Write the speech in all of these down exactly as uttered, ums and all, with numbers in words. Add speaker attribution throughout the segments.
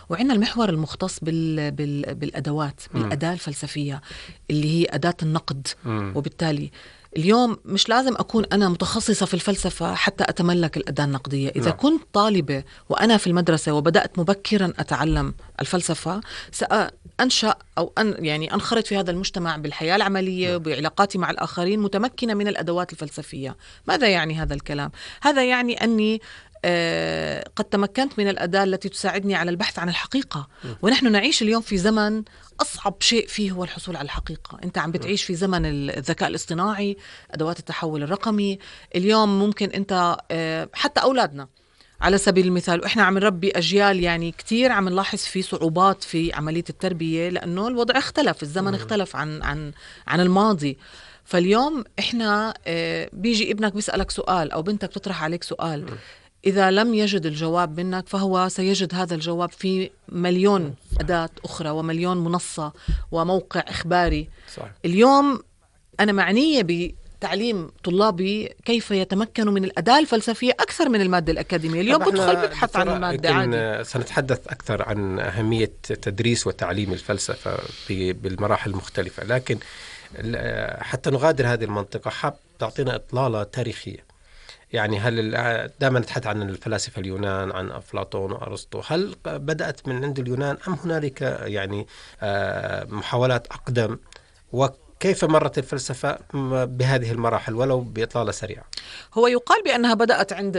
Speaker 1: وعندنا المحور المختص بال... بال... بالأدوات، بالأداة الفلسفية اللي هي أداة النقد. م. وبالتالي اليوم مش لازم أكون أنا متخصصة في الفلسفة حتى أتملك الأداة النقدية. إذا لا. كنت طالبة وأنا في المدرسة وبدأت مبكرا أتعلم الفلسفة، سأنشأ أو أن يعني أنخرط في هذا المجتمع بالحياة العملية وبعلاقاتي مع الآخرين متمكنة من الأدوات الفلسفية. ماذا يعني هذا الكلام؟ هذا يعني أني آه قد تمكنت من الأداة التي تساعدني على البحث عن الحقيقة. ونحن نعيش اليوم في زمن أصعب شيء فيه هو الحصول على الحقيقة. أنت عم بتعيش في زمن الذكاء الاصطناعي، أدوات التحول الرقمي. اليوم ممكن أنت آه حتى أولادنا على سبيل المثال، وإحنا عم نربي أجيال يعني كتير عم نلاحظ في صعوبات في عملية التربية لأنه الوضع اختلف، الزمن اختلف عن عن عن الماضي. فاليوم إحنا آه بيجي ابنك بيسألك سؤال أو بنتك تطرح عليك سؤال، إذا لم يجد الجواب منك فهو سيجد هذا الجواب في مليون أداة أخرى ومليون منصة وموقع إخباري. صح. اليوم أنا معنية بتعليم طلابي كيف يتمكنوا من الأداة الفلسفية أكثر من المادة الأكاديمية. اليوم بدخل ببحث عن المادة عادي.
Speaker 2: سنتحدث أكثر عن أهمية تدريس وتعليم الفلسفة بالمراحل المختلفة، لكن حتى نغادر هذه المنطقة حاب تعطينا إطلالة تاريخية. يعني هل دائما نتحدث عن الفلاسفة اليونان، عن أفلاطون وأرسطو، هل بدأت من عند اليونان أم هنالك يعني محاولات أقدم؟ وكيف مرت الفلسفة بهذه المراحل ولو بإطلالة سريعة؟
Speaker 1: هو يقال بأنها بدأت عند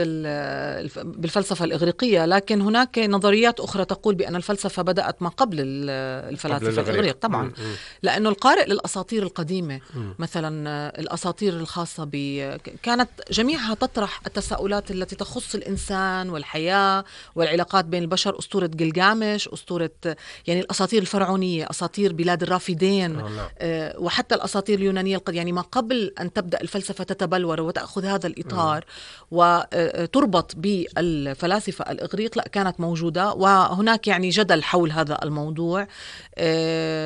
Speaker 1: بالفلسفة الإغريقية، لكن هناك نظريات أخرى تقول بأن الفلسفة بدأت ما قبل الفلاسفة الإغريق طبعا. م- م. لأنه القارئ للأساطير القديمة م. مثلا الأساطير الخاصة ب كانت جميعها تطرح التساؤلات التي تخص الإنسان والحياة والعلاقات بين البشر. أسطورة جلجامش، أسطورة يعني الأساطير الفرعونية، أساطير بلاد الرافدين، آه وحتى الأساطير اليونانية القديمة، يعني ما قبل أن تبدأ الفلسفة تتبلور وتأخذ هذا الإطار وتربط بالفلاسفة الإغريق، لا كانت موجودة. وهناك يعني جدل حول هذا الموضوع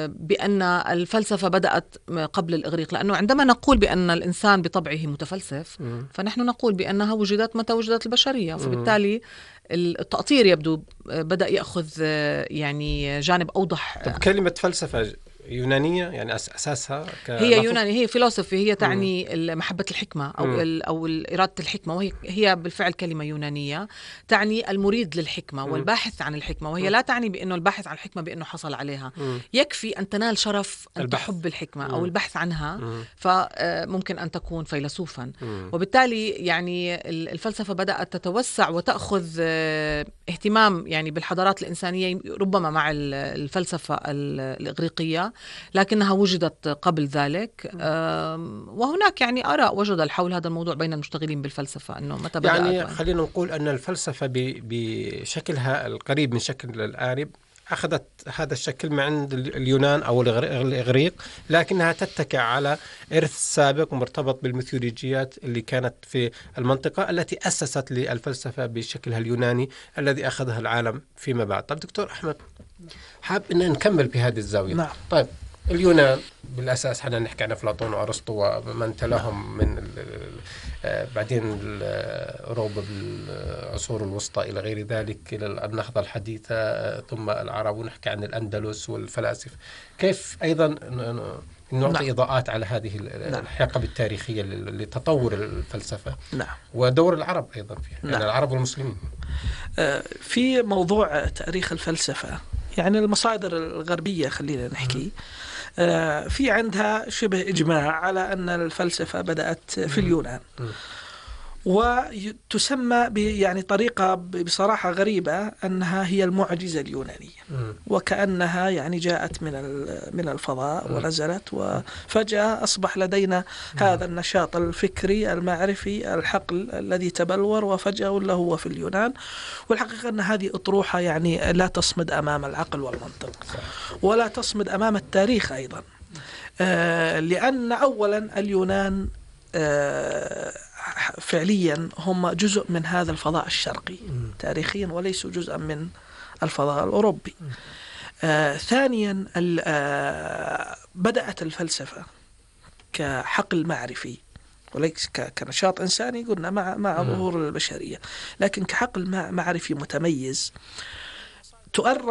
Speaker 1: بأن الفلسفة بدأت قبل الإغريق، لأنه عندما نقول بأن الإنسان بطبعه متفلسف فنحن نقول بأنها وجدت متى وجدت البشرية. فبالتالي التأطير يبدو بدأ يأخذ يعني جانب أوضح.
Speaker 2: طب كلمة فلسفة يونانية يعني أساسها
Speaker 1: هي يونانية، هي فيلسوفي، هي تعني محبة الحكمة أو ال أو إرادة الحكمة، وهي هي بالفعل كلمة يونانية تعني المريد للحكمة م. والباحث عن الحكمة، وهي م. لا تعني بأنه الباحث عن الحكمة بأنه حصل عليها م. يكفي أن تنال شرف أن البحث. تحب الحكمة م. أو البحث عنها م. فممكن أن تكون فيلسوفا م. وبالتالي يعني الفلسفة بدأت تتوسع وتأخذ اهتمام يعني بالحضارات الإنسانية ربما مع الفلسفة الإغريقية، لكنها وجدت قبل ذلك. وهناك يعني آراء وجدل حول هذا الموضوع بين المشتغلين بالفلسفة أنه متى بدأت.
Speaker 2: يعني خلينا نقول أن الفلسفة بشكلها القريب من شكل الآرب أخذت هذا الشكل من عند اليونان أو الإغريق، لكنها تتكئ على إرث سابق مرتبط بالميثولوجيات اللي كانت في المنطقة التي أسست للفلسفة بشكلها اليوناني الذي أخذها العالم فيما بعد. طيب دكتور أحمد، حاب أن نكمل بهذه الزاوية.
Speaker 3: نعم.
Speaker 2: طيب اليونان بالأساس حنا نحكي عن أفلاطون وأرسطو ومن تلاهم من بعدين أوروبا بالعصور الوسطى إلى غير ذلك إلى النهضة الحديثة ثم العرب، ونحكي عن الأندلس والفلاسفة. كيف أيضا نعطي نعم. إضاءات على هذه الحقبة التاريخية لتطور الفلسفة
Speaker 3: نعم.
Speaker 2: ودور العرب أيضا فيها نعم. يعني العرب والمسلمين
Speaker 3: في موضوع تاريخ الفلسفة. يعني المصادر الغربية خلينا نحكي في عندها شبه إجماع على أن الفلسفة بدأت في اليونان، وتسمى يعني طريقة بصراحة غريبة أنها هي المعجزة اليونانية، وكأنها يعني جاءت من من الفضاء ونزلت وفجأة أصبح لدينا هذا النشاط الفكري المعرفي الحقل الذي تبلور وفجأة ولا هو في اليونان. والحقيقة أن هذه أطروحة يعني لا تصمد أمام العقل والمنطق ولا تصمد أمام التاريخ أيضا، آه لأن أولا اليونان آه فعليا هم جزء من هذا الفضاء الشرقي تاريخيا وليسوا جزءا من الفضاء الأوروبي. آه ثانيا آه بدأت الفلسفة كحقل معرفي وليس كنشاط إنساني قلنا مع مع ظهور البشرية، لكن كحقل معرفي متميز تؤرخ